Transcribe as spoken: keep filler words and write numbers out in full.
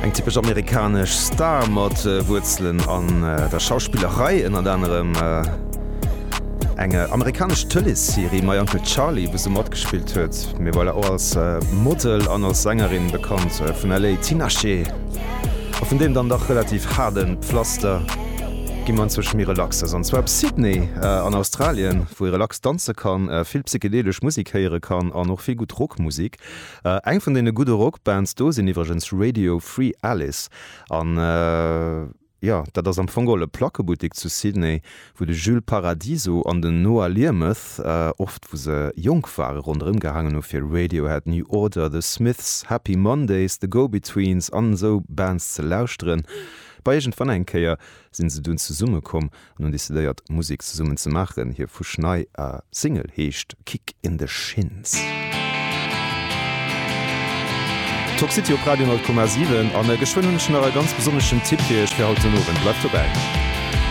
Eng typesch amerikanesch Star mat Wuerzelen an der Schauspillerei, ënnert anerem eng amerikanesch Tëleesserie My Uncle Charlie, wou se matgespillt huet. Mee voilà, och als Model an als Sängerin bekannt vun L A, Tinashe. A vun deem dann dach relativ haarde Pflaster gi mer anzwousch méi relaxes, an zwar op Sydney an Australien, wou ee relax danze kann, vill psychedelesch Musek héiere kann an och vill gutt Rockmusek. Eng vun deene gudde Rockbands do sinn iwwregens Radio Free Alice an jo, dat ass am Fong geholl e Plackebuttek zu Sydney, wou de Jules Paradiso an den Noah Learmonth oft, wou se jonk ware, ronderëm gehaangen hu fir Radiohead, New Order, The Smiths, Happy Mondays, The Go-Betweens an esou Bands ze lauschteren. Bei iergendwann eng Kéier sinn se dunn zesumme komm an hunn decidéiert Musek zesummen ze maachen. Hir fuschnei Single heescht Kick in the Shins. Talk City op Radio honnert Komma siwen an geschwënn hunn ech nach e ganz besonneschen Tipp fir iech fir haut den Owend. Bleift dobäi!